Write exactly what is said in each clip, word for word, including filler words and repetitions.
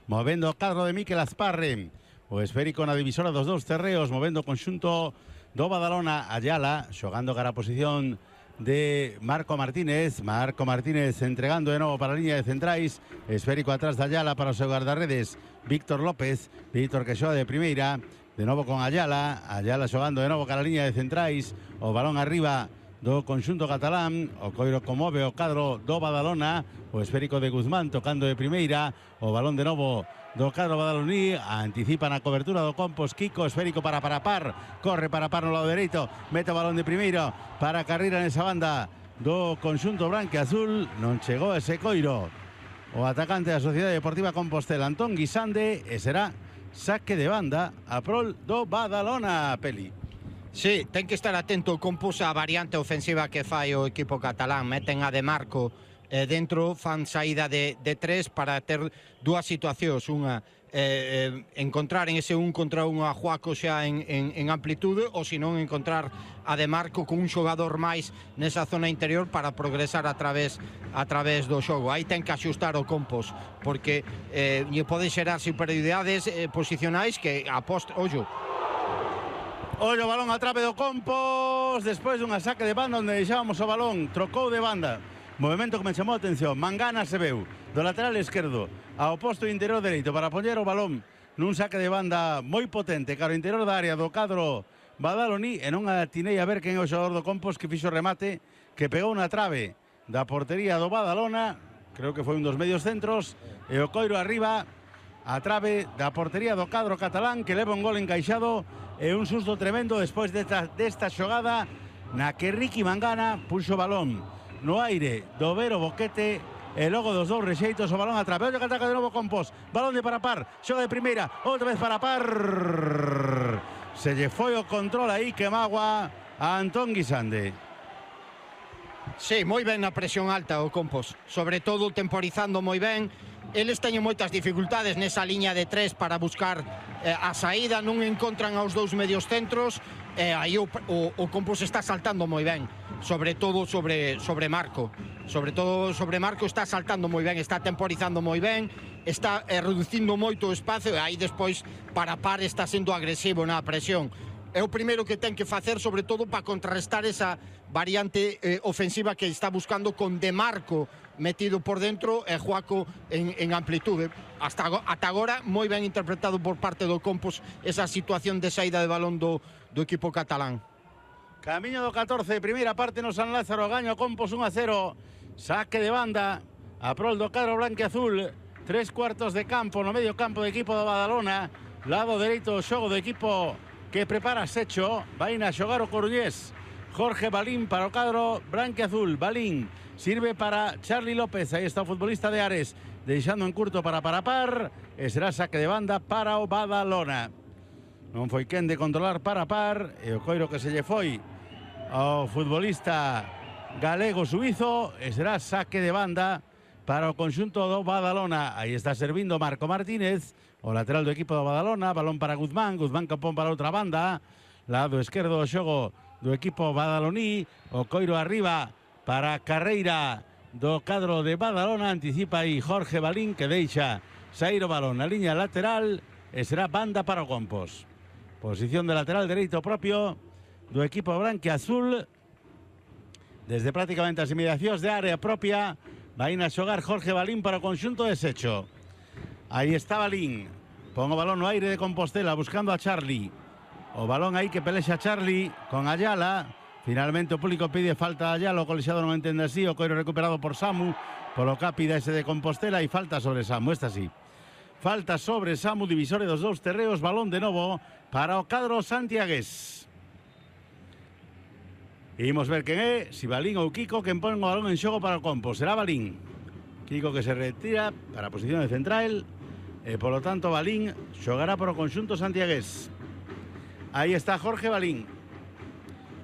movendo o cadro de Miquel Asparre. O esférico na divisora dos dous terreos, movendo o conxunto do Badalona. Ayala xogando cara a posición de Marco Martínez. Marco Martínez entregando de novo para a línea de centrais. Esférico atrás de Ayala para o seu guardarredes Víctor López. Víctor que xoga de primeira, de novo con Ayala. Ayala xogando de novo cara a línea de centrais. O balón arriba do conxunto catalán. O coiro comove o cadro do Badalona. O esférico de Guzmán tocando de primeira. O balón de novo do cadro badaloní. Anticipa na cobertura do Compos Kiko. Esférico para Parapar. Corre Parapar no lado dereito. Mete o balón de primeiro para Carreira nesa banda do conxunto branque azul. Non chegou ese coiro o atacante da Sociedade Deportiva Compostela, Antón Guisande, e será saque de banda a prol do Badalona, Peli. Sí, ten que estar atento o Compos a variante ofensiva que fai o equipo catalán. Meten a De Marco eh, dentro, fan saída de, de tres para ter dúas situacións. Unha, eh, eh, encontrar en ese un contra un a Juaco xa en, en, en amplitude, ou senón encontrar a De Marco con un xogador máis nesa zona interior para progresar a través, a través do xogo. Aí ten que axustar o Compos, porque eh, lle pode xerar superioridades eh, posicionais que a post... Ollo, Ollo, balón a trave do Compos. Despois dunha saque de banda onde deixábamos o balón, trocou de banda. Movimento que me chamou a atención. Mangana se veu do lateral esquerdo ao posto interior dereito para poñer o balón nun saque de banda moi potente cara ao interior da área do cadro badaloní, e non atinei a ver quen é o xogador do Compos que fixo remate, que pegou na trave da portería do Badalona. Creo que foi un dos medios centros, e o coiro arriba a trave da portería do cadro catalán, que leva un gol encaixado e un susto tremendo despois desta, desta xogada na que Ricky Mangana puxo o balón no aire do Vero Boquete, e logo dos dous rexeitos o balón a trave. Ollo que ataca de novo Compos, balón de Parapar, xoga de primeira, outra vez Parapar, se lle foi o control aí que magua a Antón Guisande. Sí, moi ben na presión alta o Compos, sobre todo temporizando moi ben. Eles teñen moitas dificultades nesa liña de tres para buscar eh, a saída, non encontran aos dous medios centros, e eh, aí o, o, o Compos está saltando moi ben, sobre todo sobre, sobre Marco. Sobre todo sobre Marco está saltando moi ben, está temporizando moi ben, está eh, reducindo moito o espacio, e aí despois Parapar está sendo agresivo na presión. É o primeiro que ten que facer, sobre todo para contrarrestar esa variante eh, ofensiva que está buscando, con De Marco metido por dentro e Juaco en, en amplitude. Hasta, ata agora moi ben interpretado por parte do Compos esa situación de saída de balón do, do equipo catalán. Camiño do catorce, primeira parte no San Lázaro, gaño Compos un a cero, saque de banda a prol do cadro blanquiazul. Tres cuartos de campo no medio campo do equipo do Badalona, lado dereito o xogo do equipo que prepara Secho. Vai a xogar o coruñés Jorge Balín para o cadro branquiazul. Balín sirve para Charly López, aí está o futbolista de Ares, deixando en curto para Parapar, e será saque de banda para o Badalona. Non foi quen de controlar Parapar, e o coiro que se lle foi ao futbolista galego suizo, e será saque de banda para o conxunto do Badalona. Aí está servindo Marco Martínez, o lateral do equipo do Badalona. Balón para Guzmán, Guzmán que pon para outra banda, lado esquerdo do xogo do equipo badaloní. O coiro arriba para Carreira do cadro de Badalona. Anticipa aí Jorge Balín, que deixa sair o balón na liña lateral, e será banda para o Compos. Posición de lateral dereito propio do equipo branquiazul. Desde prácticamente as inmediacións de área propia vai a xogar Jorge Balín para o conxunto de Secho. Aí está Balín, pon o balón no aire de Compostela buscando a Charly. O balón aí que pelexa Charly con Ayala. Finalmente o público pide falta a Ayala, o colexiado non entende así. O coiro recuperado por Samu, polo capi ese de Compostela, e falta sobre Samu. Esta sí, falta sobre Samu, divisore dos dous terreos. Balón de novo para o cadro santiagués. Imos ver quen é, si Balín ou Kiko, quen pon o balón en xogo para o Compos. Será Balín. Kiko que se retira para a posición de central, e polo tanto Balín xogará para o conxunto santiagués. Aí está Jorge Balín,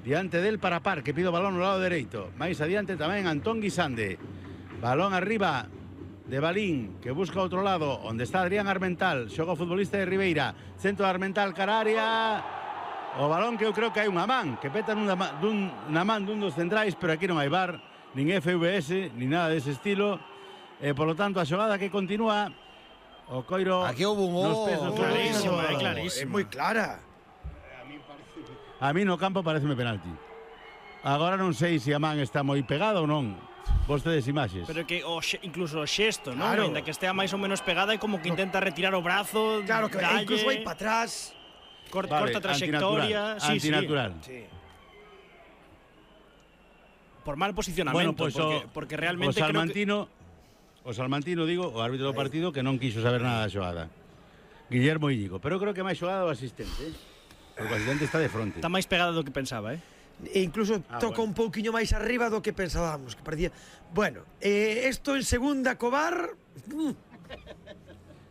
diante del Parapar, que pide o balón no lado dereito. Mais adiante tamén Antón Guisande. Balón arriba de Balín, que busca outro lado, onde está Adrián Armental. Xoga o futbolista de Ribeira, centro de Armental, cara área. O balón que eu creo que hai unha man, que peta nunha, dun, na man dun dos centrais, pero aquí non hai V A R, nin F V S, nin nada dese estilo. E, polo tanto, a xogada que continúa O Coiro aquí hubo un nos oh, pesos oh, clarísimo, oh, é clarísimo. É moi clara. A mí no campo pareceme penalti. Agora non sei se a man está moi pegada ou non. Vostedes imaxes. Pero que o xe, incluso o xesto, non? Claro. Ainda que estea máis ou menos pegada, é como que intenta retirar o brazo, Claro, que dalle, incluso vai para atrás. cor, Vale, corta trayectoria. Antinatural. Sí, antinatural. Sí. sí. Por mal posicionamento, Bueno, pues porque, o, porque realmente o Salmantino, creo que... o Salmantino, digo, o árbitro do partido que non quiso saber nada da xogada. Guillermo Íñigo, pero creo que máis xogada o asistente, eh? Porque o asistente está de fronte. que está máis pegada do que pensaba, eh? E incluso Ah, toca bueno. un pouquiño máis arriba do que pensábamos, que parecía. Bueno, eh, esto en segunda Cobar. Mm,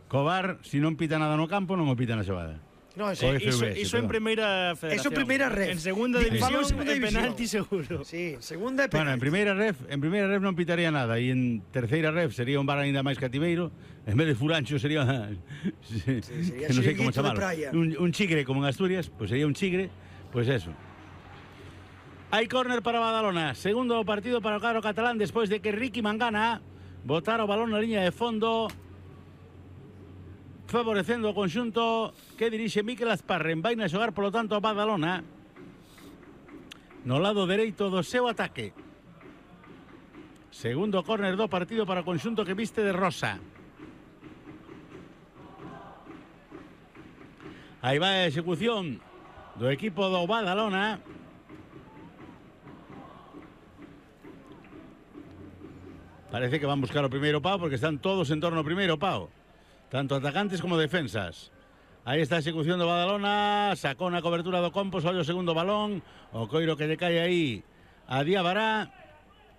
Cobar, se non pita nada no campo, non o pita na xogada. no, Co sí, F V S, Iso, iso en perdón. primeira federación. Eso en primeira ref. En segunda Di- división, falo en segunda é división. penalti seguro. sí, segunda é Bueno, en penalti. primeira ref, en primeira ref non pitaría nada e en terceira ref sería un bar aínda máis cativeiro. En vez de furancho sería sí, sería que non sei como chiringuito de chamarlo. praia. Un, un chigre como en Asturias, pues sería un chigre, pues eso. Hai córner para Badalona, segundo partido para o cadro catalán despois de que Ricky Mangana botara o balón na liña de fondo, favorecendo o conxunto que dirixe Mikel Asparren. Vai na xogar, polo tanto, a Badalona no lado dereito do seu ataque. Segundo córner do partido para o conxunto que viste de rosa. Aí vai a execución do equipo do Badalona. Parece que van buscar o primeiro pau porque están todos en torno ao primeiro pau. Tanto atacantes como defensas. Aí está a execución do Badalona. Sacou na cobertura do Compos. Olha o segundo balón. O coiro que lle cae aí a Diabará.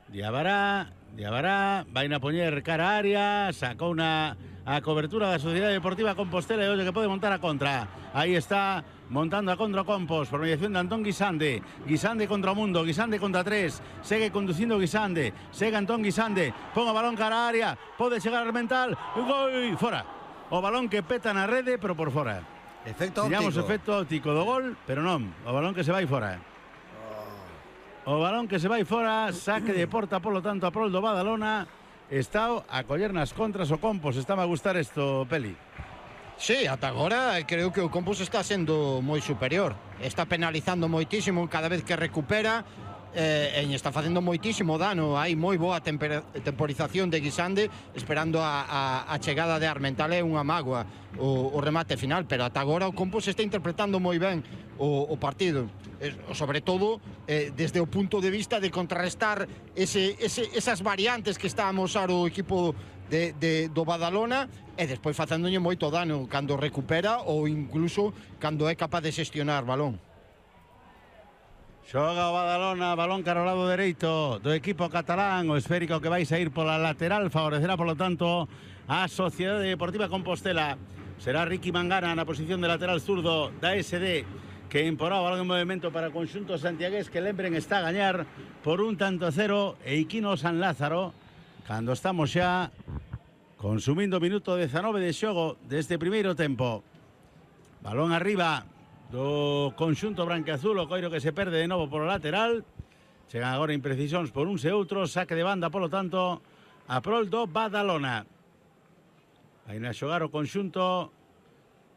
Diabará. Diabará. Vai na poñer cara a área. Sacou na a cobertura da Sociedade Deportiva Compostela. E olha que pode montar a contra. Aí está montando a contra o Compos. Por mediación de Antón Guisande. Guisande contra o mundo. Guisande contra tres. Segue conducindo Guisande. Segue Antón Guisande. Pon o balón cara a área. Pode chegar al mental. Gol. Fora. O balón que peta na rede, pero por fora. Efecto Tiñamos óptico. efecto óptico do gol, pero non. O balón que se vai fora. O balón que se vai fora, saque de porta, polo tanto, a prol do Badalona. Está a coller nas contras o Compos. Está a gustar isto, Peli. Sí, ata agora creo que o Compos está sendo moi superior. Está penalizando moitísimo cada vez que recupera. Eh, e está facendo moitísimo dano. Hai moi boa tempera, temporización de Guisande, esperando a, a, a chegada de Armental. É unha mágoa o, o remate final, pero ata agora o Compos está interpretando moi ben o, o partido, eh, sobre todo eh, desde o punto de vista de contrarrestar ese, ese, esas variantes que está a amosar o equipo de, de, do Badalona, e despois facéndolle moito dano cando recupera ou incluso cando é capaz de xestionar balón. Xoga o Badalona, balón cara ao lado dereito do equipo catalán. O esférico que vai sair pola lateral favorecerá, polo tanto, a Sociedade Deportiva Compostela. Será Ricky Mangana na posición de lateral zurdo da S D, que imporá o balón en movimento para o conxunto santiagués, que lembren está a gañar por un tanto a cero e Iquino San Lázaro, cando estamos xa consumindo minuto dezanove de xogo deste primeiro tempo. Balón arriba do conxunto branqueazul, o coiro que se perde de novo polo lateral. Chegan agora imprecisións por uns e outros. Saque de banda, polo tanto, a prol do Badalona. Aí na xogar o conxunto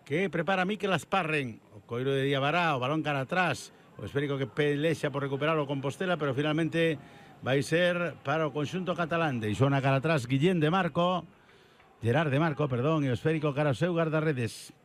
que prepara Mikel Asparren. O coiro de Diabará, o balón cara atrás. O esférico que pelexa por recuperar o Compostela, pero finalmente vai ser para o conxunto catalán. Deixou na cara atrás Guillén de Marco. Gerard de Marco, perdón, e o esférico cara ao seu guardarredes.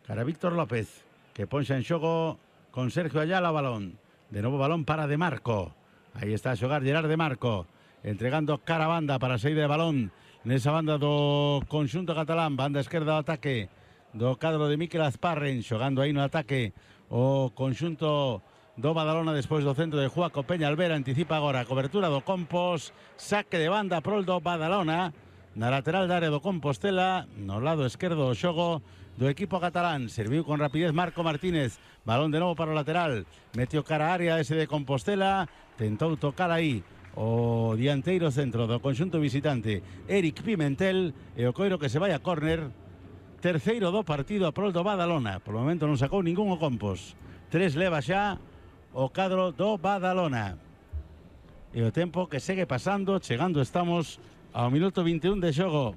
Cara Víctor López, que ponxa en xogo con Sergio Ayala o balón. De novo balón para De Marco. Aí está a xogar Gerard de Marco, entregando cara a banda para a saída de balón nesa banda do conxunto catalán. Banda esquerda do ataque do cadro de Mikel Asparren, xogando aí no ataque o conxunto do Badalona despois do centro de Juaco Peñalver. Anticipa agora a cobertura do Compos. Saque de banda prol do Badalona na lateral da área do Compostela, no lado esquerdo do xogo do equipo catalán. Serviu con rapidez Marco Martínez. Balón de novo para o lateral. Metió cara a área ese de Compostela. Tentou tocar aí o dianteiro centro do conxunto visitante, Eric Pimentel, e o coiro que se vai a córner. Terceiro do partido a prol do Badalona. Por o momento non sacou ningún o Compos. Tres leva xa o cadro do Badalona. E o tempo que segue pasando, chegando estamos ao minuto vinte e un de xogo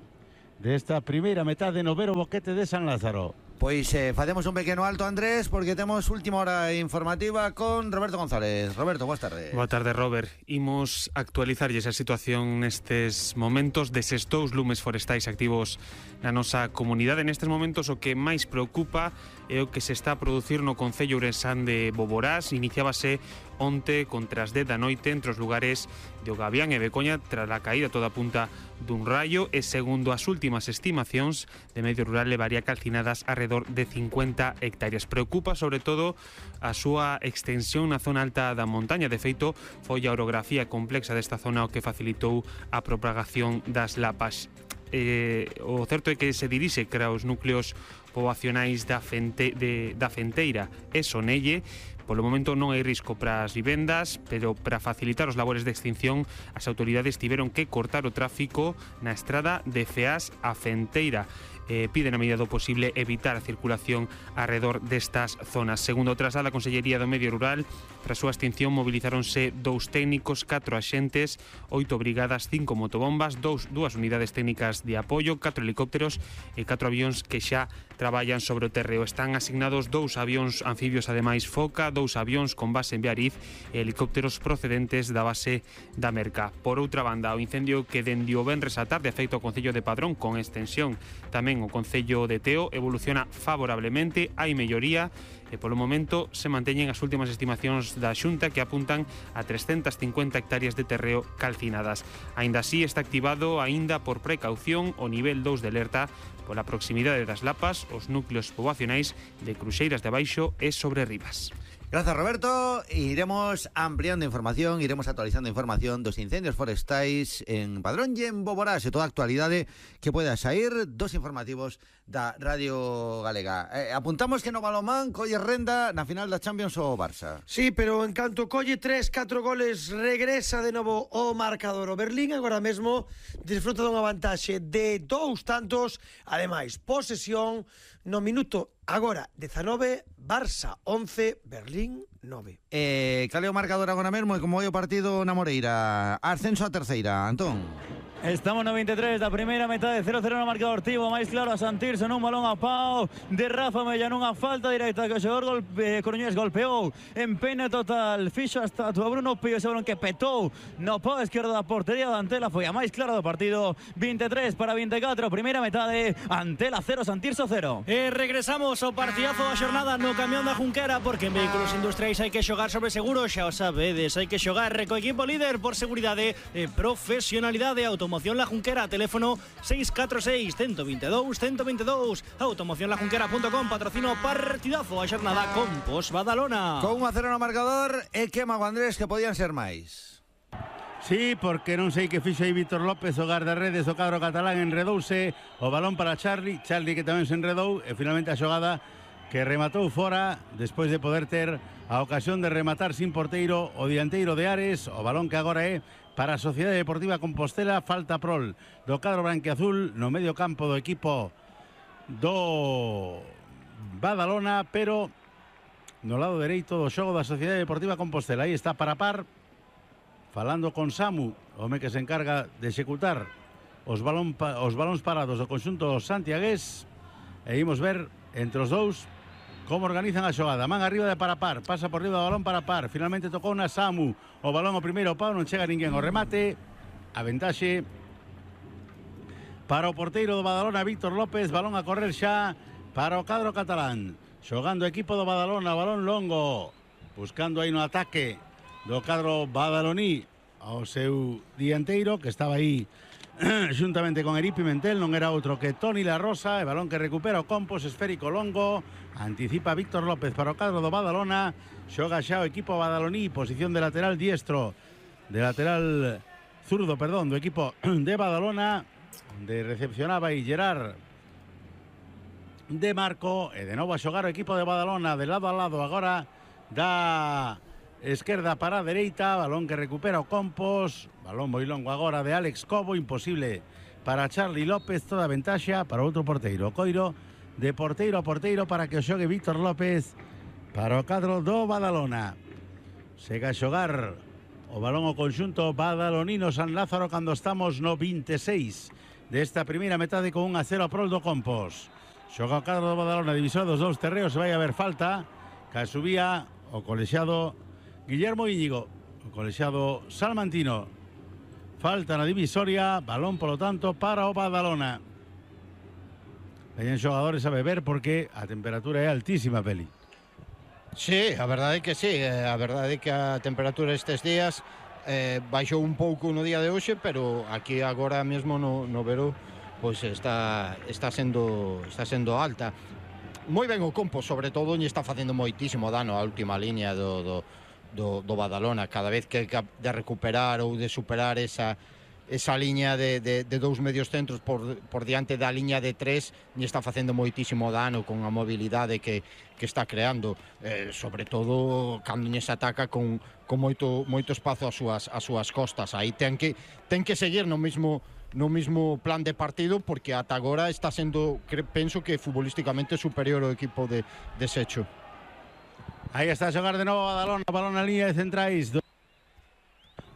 desta primeira metade no Vero Boquete de San Lázaro. Pois eh, facemos un pequeno alto, Andrés, porque temos última hora informativa con Roberto González. Roberto, boas tardes. Boa tarde, Robert. Imos actualizarlles a situación nestes momentos deses dous lumes forestais activos na nosa comunidade. Nestes momentos o que máis preocupa é o que se está a producir no concello ourensán de Boborás. Iniciábase onte contra as dez da noite entre os lugares de Ogabián e Becoña tras a caída toda punta dun raio e segundo as últimas estimacións de medio rural levaría calcinadas alrededor de cincuenta hectáreas. Preocupa sobre todo a súa extensión na zona alta da montaña. De feito, foi a orografía complexa desta zona o que facilitou a propagación das lapas. Eh, o certo é que se dirixe cara aos núcleos poboacionais da, Fente, de, da Fenteira e Sonelle. Polo momento non hai risco para as vivendas, pero para facilitar os labores de extinción as autoridades tiveron que cortar o tráfico na estrada de Feás a Fenteira. Eh, piden a medida do posible evitar a circulación alrededor destas zonas. Segundo o traslado da Consellería do Medio Rural, tras súa extinción mobilizáronse dous técnicos, catro axentes, oito brigadas, cinco motobombas, dous, dúas unidades técnicas de apoio, catro helicópteros e catro avións que xa traballan sobre o terreo. Están asignados dous avións anfibios ademais Foca, dous avións con base en Beariz e helicópteros procedentes da base da Merca. Por outra banda, o incendio que dende o venres á tarde afecta o Concello de Padrón con extensión tamén o Concello de Teo evoluciona favorablemente, hai melloría e polo momento se manteñen as últimas estimacións da Xunta que apuntan a trescentas cincuenta hectáreas de terreo calcinadas. Aínda así está activado aínda por precaución o nivel dous de alerta pola proximidade das lapas, os núcleos poboacionais de Cruxeiras de Abaixo e Sobre Ribas. Gracias, Roberto. Iremos ampliando información, iremos actualizando información dos incendios forestais en Padrón e en Boborás e toda a actualidade que poida sair dos informativos da Radio Galega. Eh, apuntamos que no balonmán colle renda na final da Champions o Barça. Sí, pero en canto colle tres, catro goles, regresa de novo o marcador. O Berlín agora mesmo disfruta dunha vantaxe de dous tantos, ademais, posesión no minuto agora dezanove, Barça once, Berlín nove. Eh, cal é o marcador agora mesmo e como é o partido na Moreira? Ascenso a terceira, Antón. Estamos no veintitrés da primeira metade, cero cero no marcador tivo, máis claro a Santirso nun balón a pau de Rafa Mella nunha falta directa que o xogador golpe, Coruñés golpeou en pena total, fixo hasta a Bruno Pío, ese balón que petou no pau esquerdo da portería da Antela, foi a máis clara do partido. Veintitrés para veinticuatro, primeira metade, Antela cero, Santirso cero. E regresamos ao partidazo da xornada no camión da Junquera, porque en vehículos industriais hai que xogar sobre seguro, xa o sabedes, hai que xogar co equipo líder por seguridade e profesionalidade. Automoción La Junquera, teléfono seis catro seis, uno dos dous, uno dos dous. automoción la junquera punto com, patrocino partidazo a xornada con Pos Badalona. Con un a cero no marcador e que mago, Andrés, que podían ser máis. Sí, porque non sei que fixo aí Víctor López, o guardarredes do cadro catalán, enredouse o balón para Charlie, Charlie que tamén se enredou e finalmente a xogada que rematou fora despois de poder ter a ocasión de rematar sin porteiro o dianteiro de Ares. O balón que agora é para a Sociedade Deportiva Compostela, falta prol do cadro branquiazul no medio campo do equipo do Badalona, pero no lado dereito do xogo da Sociedade Deportiva Compostela. Aí está para par, falando con Samu, o home que se encarga de executar os, balón, os balóns parados do conxunto santiagués, e imos ver entre os dous como organizan a xogada. Man arriba de Parapar, pasa por riba do balón Parapar, finalmente tocou na Samu, o balón o primeiro pau, non chega ninguén o remate, a ventaxe para o porteiro do Badalona, Víctor López, balón a correr xa para o cadro catalán, xogando o equipo do Badalona, balón longo, buscando aí no ataque do cadro badaloní ao seu dianteiro, que estaba aí xuntamente con Eri Pimentel, non era outro que Toni La Rosa, e balón que recupera o Compos, esférico longo, anticipa Víctor López para o cadro do Badalona, xoga xa o equipo badaloní, posición de lateral diestro, de lateral zurdo, perdón, do equipo de Badalona, onde recepcionaba aí Gerard de Marco, e de novo a xogar o equipo de Badalona de lado a lado agora da esquerda para a dereita, balón que recupera o Compos, balón moi longo agora de Alex Cobo, imposible para Charlie López, toda ventaxa para outro porteiro, Coiro de porteiro a porteiro para que o xogue Víctor López para o cadro do Badalona. Sega a xogar o balón o conxunto badalonino San Lázaro cando estamos no veintiséis desta primeira metade con un a cero a prol do Compos. Xoga o cadro do Badalona, divisor dos dous terreos, se vai a ver falta, que subía o colexiado Guillermo Íñigo, o colexiado salmantino. Falta na divisoria, balón polo tanto para o Badalona. Veñen xogadores a beber porque a temperatura é altísima, Peli. Sí, a verdade é que sí, a verdade é que a temperatura estes días eh, baixou un pouco no día de hoxe, pero aquí agora mesmo no, no veró pois está está sendo está sendo alta. Moi ben o Compos, sobre todo, lle está facendo moitísimo dano a última liña do, do, do, do Badalona. Cada vez que de recuperar ou de superar esa esa liña de, de, de dous medios centros por, por diante da liña de tres, lle está facendo moitísimo dano con a mobilidade que, que está creando, eh, sobre todo cando lle se ataca con, con moito, moito espazo ás súas, ás súas costas. Aí ten que, ten que seguir no mismo no mismo plan de partido, porque ata agora está sendo, penso que futbolísticamente superior ao equipo de, de Secho. Aí está a xogar de novo a Badalona, balón na línea de centrais.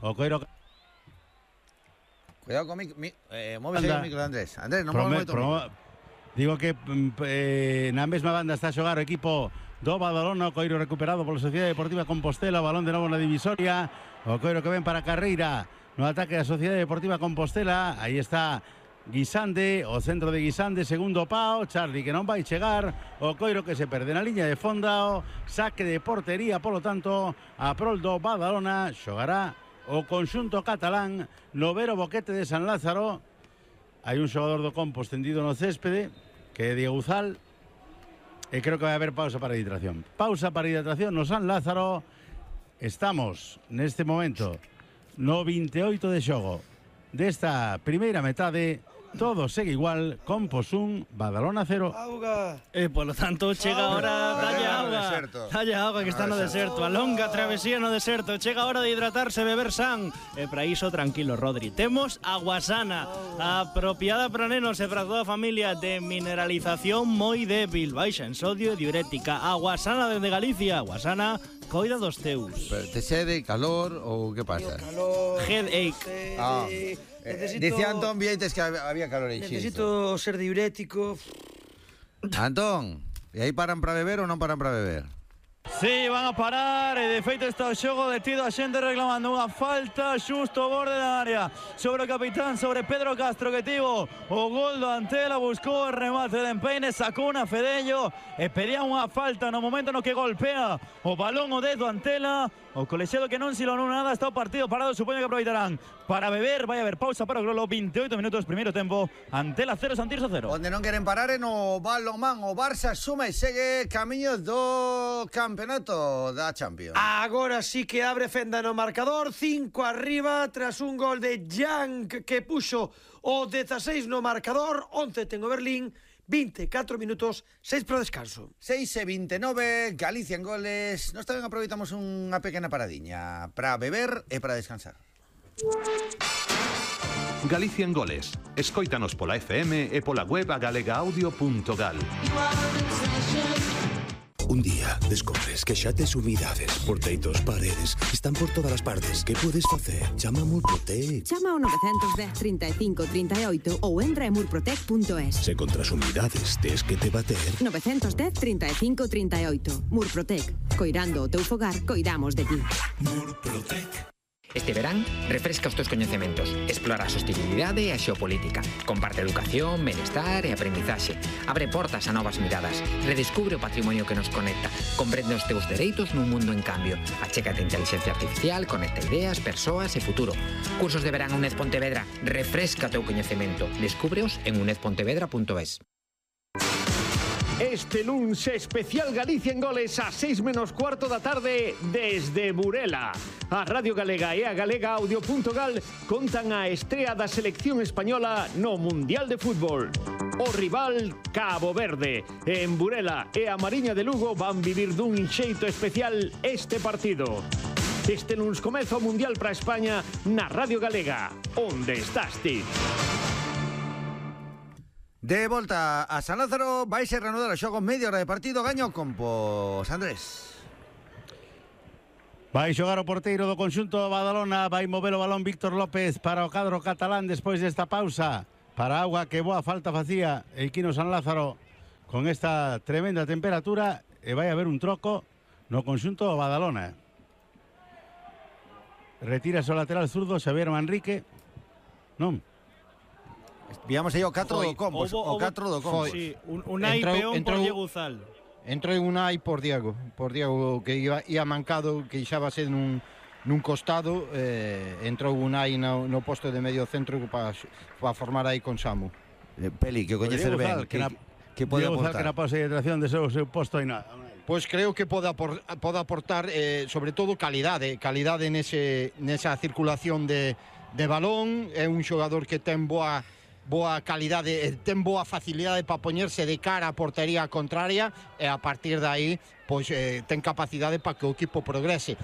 O Coiro. Cuidado con mi, mi, eh, móvese o micro de Andrés. Andrés, non Prome, moito pro, digo que eh, na mesma banda está a xogar o equipo do Badalona, o Coiro recuperado pola Sociedade Deportiva Compostela, balón de novo na divisoria, o Coiro que ven para a carreira no ataque da Sociedade Deportiva Compostela. Aí está Guisande, o centro de Guisande, segundo pao, Charlie que non vai chegar, o Coiro que se perde na liña de fondo, saque de portería, polo tanto a prol do Badalona. Xogará o conxunto catalán no Vero Boquete de San Lázaro. Hai un xogador do Compos tendido no céspede, que é Diego Uzal, e creo que vai haber pausa para hidratación. Pausa para hidratación no San Lázaro. Estamos neste momento no veintioito de xogo desta primeira metade. Todo segue igual, Compos un, Badalona cero. Auga. E polo tanto chega a hora, dalle no auga. deserto. Dalle auga que está no deserto, a longa travesía no deserto. Chega a hora de hidratarse, beber san. E para iso tranquilo, Rodri. Temos agua sana, apropiada para nenos e para toda a familia, de mineralización moi débil, baixa en sodio e diurética. Agua sana desde Galicia, agua sana, coida dos teus. Pero te sede, calor ou que pasa? Calor. Headache. Ah. Necesito, Dicía Antón Vieites que había calor aí. necesito ser diurético. Antón, e aí paran para beber ou non paran para beber? Sí, van a parar, e de feito está o xogo detido, a xente reclamando unha falta xusto ao borde da área sobre o capitán, sobre Pedro Castro, que tivo o gol do Antela, buscou o remate de empeine, sacou unha Fedello e pedía unha falta no momento no que golpea o balón o dedo Antela. O colexiado que non silonou nada, está o partido parado, supoño que aproveitarán para beber. Vai haber pausa para o Grolo, veintioito minutos, primeiro tempo, Antela cero, Santirso cero. Onde non queren parar é no balonmán. O Barça suma e segue camiño do campeonato da Champions. Agora sí que abre fenda no marcador, cinco arriba tras un gol de Jank que puxo o dezaseis no marcador, once ten o Berlín, veinticuatro minutos, seis pro descanso. seis e veintinueve, Galicia en goles. Nós tamén aproveitamos unha pequena paradiña para beber e para descansar. Galicia en goles. Escóitanos pola F M e pola web a galega audio punto gal. Un día descobres que xa tes umidades, porteitos, paredes, están por todas as partes. Que podes facer? Chama a Murprotec. Chama ao nove un cero, trinta e cinco, trinta e oito ou entra en murprotec punto es. Se contra as umidades tes que te bater. nove un cero, trinta e cinco, trinta e oito. Murprotec. Coirando o teu fogar, coidamos de ti. Murprotec. Este verán, refresca os teus coñecementos, explora a sostenibilidade e a xeopolítica, comparte educación, benestar e aprendizaxe, abre portas a novas miradas, redescubre o patrimonio que nos conecta, comprende os teus dereitos nun mundo en cambio, achégate a inteligencia artificial, conecta ideas, persoas e futuro. Cursos de verán UNED Pontevedra, refresca o teu coñecemento, descúbreos en uned pontevedra punto es. Este luns especial Galicia en goles a seis menos cuarto da tarde desde Burela. A Radio Galega e a galega audio punto gal contan a estrea da selección española no Mundial de Fútbol. O rival Cabo Verde. En Burela e a Mariña de Lugo van vivir dun xeito especial este partido. Este luns comeza o Mundial para España na Radio Galega. Onde estás ti? De volta a San Lázaro, vai ser reanudar o xogo, media hora de partido, gaño o Compos. Andrés. Vai xogar o porteiro do conxunto do Badalona, vai mover o balón Víctor López para o cadro catalán despois desta pausa para auga que boa falta facía Equino San Lázaro con esta tremenda temperatura, e vai haber un troco no conxunto do Badalona. Retira o lateral zurdo Xavier Manrique. Non. Víamos aí o catro do Compos, o catro do Compos. Sí, un, un aí peón por Diego Uzal. Entrou un aí por Diego, por Diego que iba, ia mancado, que ixábase nun, nun costado, eh, entrou un aí no, no posto de medio centro para pa formar aí con Samu. Eh, Peli, que o coñecer ben, que, que, que pode Diego aportar. Uzal que na pausa de hidratación de seu, seu posto aí nada. Pois creo que pode, apor, pode aportar eh, sobre todo calidade, calidade nese, nesa circulación de, de balón. É un xogador que ten boa boa calidade, ten boa facilidade para poñerse de cara a portería contraria e a partir de aí pois, eh, ten capacidade para que o equipo progrese.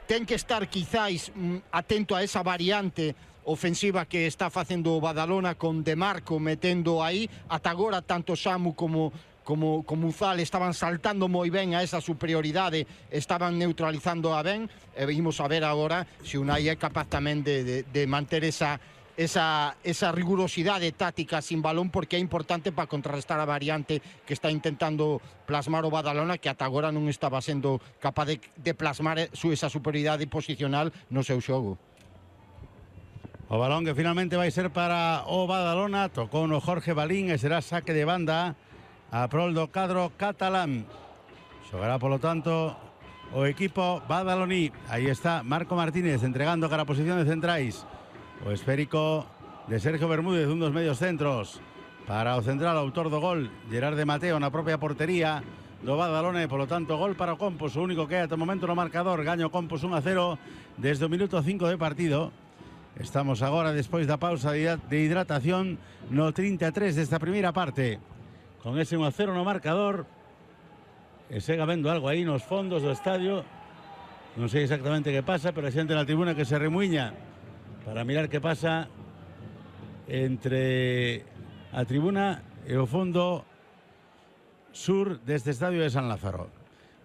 Ten que estar quizáis mm, atento a esa variante ofensiva que está facendo o Badalona con De Marco metendo aí. Ata agora tanto Samu como como, como Uzal estaban saltando moi ben a esa superioridade, estaban neutralizando a ben, e vimos a ver agora se Unai é capaz tamén de, de, de manter esa, esa, esa rigurosidade táctica sin balón, porque é importante para contrarrestar a variante que está intentando plasmar o Badalona, que ata agora non estaba sendo capaz de, de plasmar esa superioridade posicional no seu xogo. O balón que finalmente vai ser para o Badalona, tocou no Jorge Balín e será saque de banda a prol do cadro catalán. Xogará, polo tanto, o equipo badaloní. Aí está Marco Martínez entregando cara a posición de centrais. O esférico de Sergio Bermúdez, un dos medios centros. Para o central, autor do gol, Gerard de Mateo na propia portería do Badalona. E, polo tanto, gol para o Compos, o único que hai ata o momento no marcador. Gaño Compos un a cero desde o minuto cinco de partido. Estamos agora, despois da pausa de hidratación, no trinta e tres desta primeira parte. Con ese un a cero no marcador, e segue vendo algo aí nos fondos do estadio. Non sei exactamente que pasa, pero a xente na tribuna que se remuiña para mirar que pasa entre a tribuna e o fondo sur deste estadio de San Lázaro.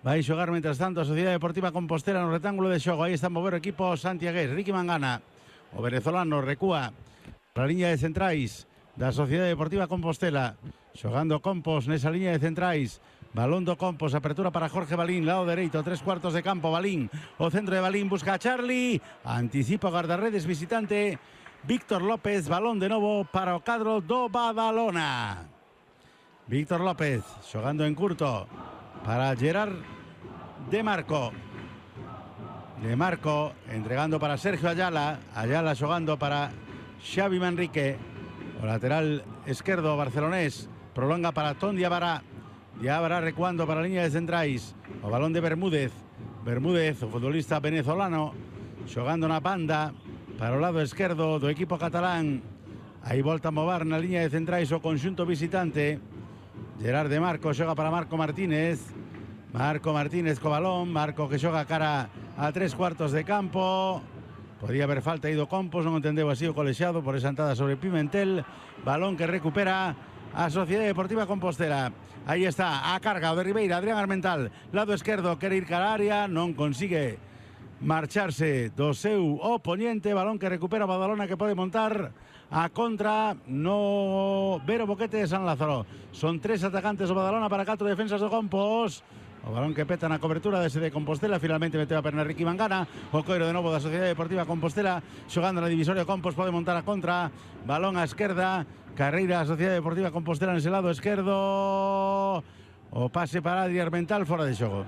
Vai xogar, mentras tanto, a Sociedade Deportiva Compostela no retángulo de xogo. Aí está a mover o equipo santiagués. Ricky Mangana, o venezolano, recúa para a liña de centrais da Sociedade Deportiva Compostela. Xogando Compos nesa liña de centrais. Balón do Compos, apertura para Jorge Balín, lado dereito, tres cuartos de campo. Balín, o centro de Balín, busca a Charlie, anticipa o guardarredes visitante Víctor López. Balón de novo para o cadro do Badalona. Víctor López xogando en curto para Gerard de Marco. De Marco entregando para Sergio Ayala. Ayala xogando para Xavi Manrique. O lateral esquerdo barcelonés prolonga para Ton Diabara. Diabara recuando para a liña de centrais. O balón de Bermúdez. Bermúdez, o futbolista venezolano, xogando na banda para o lado esquerdo do equipo catalán. Aí volta a mover na liña de centrais o conxunto visitante. Gerard de Marco xoga para Marco Martínez. Marco Martínez co balón. Marco que xoga cara a tres cuartos de campo. Podía haber falta aí do Compos, non entendeu así o colexiado por esa entrada sobre Pimentel. Balón que recupera a Sociedade Deportiva Compostela. Aí está a carga o de Ribeira, Adrián Armental, lado esquerdo, quere ir cara a área, non consigue marcharse do seu oponente. Balón que recupera Badalona, que pode montar a contra no Vero Boquete de San Lázaro. Son tres atacantes do Badalona para catro defensas do Compos. O balón que peta na cobertura dese de Compostela. Finalmente meteu a perna Ricky Mangana. O coiro de novo da Sociedade Deportiva Compostela, xogando na divisoria. Compos pode montar a contra. Balón á esquerda, carreira a Sociedade Deportiva Compostela nese lado esquerdo. O pase para Adrián Armental, fora de xogo.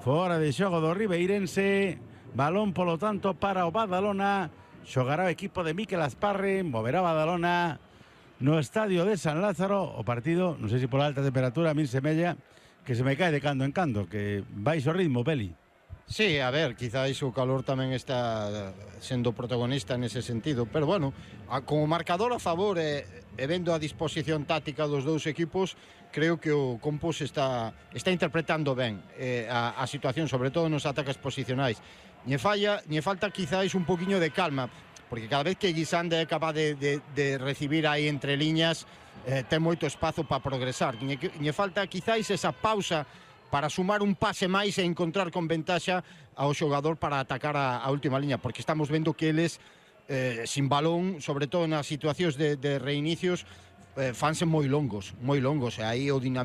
Fora de xogo do ribeirense. Balón, polo tanto, para o Badalona. Xogará o equipo de Miquel Asparre. Moverá Badalona no estadio de San Lázaro. O partido, non sei se por alta temperatura, a min semella que se me cae de cando en cando, que baixo ritmo, Peli. Sí, a ver, quizáis o calor tamén está sendo protagonista nese sentido, pero bueno, a, como marcador a favor e, e vendo a disposición táctica dos dous equipos, creo que o Compos está, está interpretando ben eh, a, a situación, sobre todo nos ataques posicionais. Lle falla, lle falta quizáis un poquinho de calma, porque cada vez que Guisande é capaz de, de, de recibir aí entre liñas, eh, ten moito espazo para progresar. Lle, lle falta quizáis esa pausa para sumar un pase máis e encontrar con ventaxa ao xogador para atacar a, a última liña, porque estamos vendo que eles eh, sin balón, sobre todo nas situacións de, de reinicios, eh, fanse moi longos, moi longos, e aí o dinamismo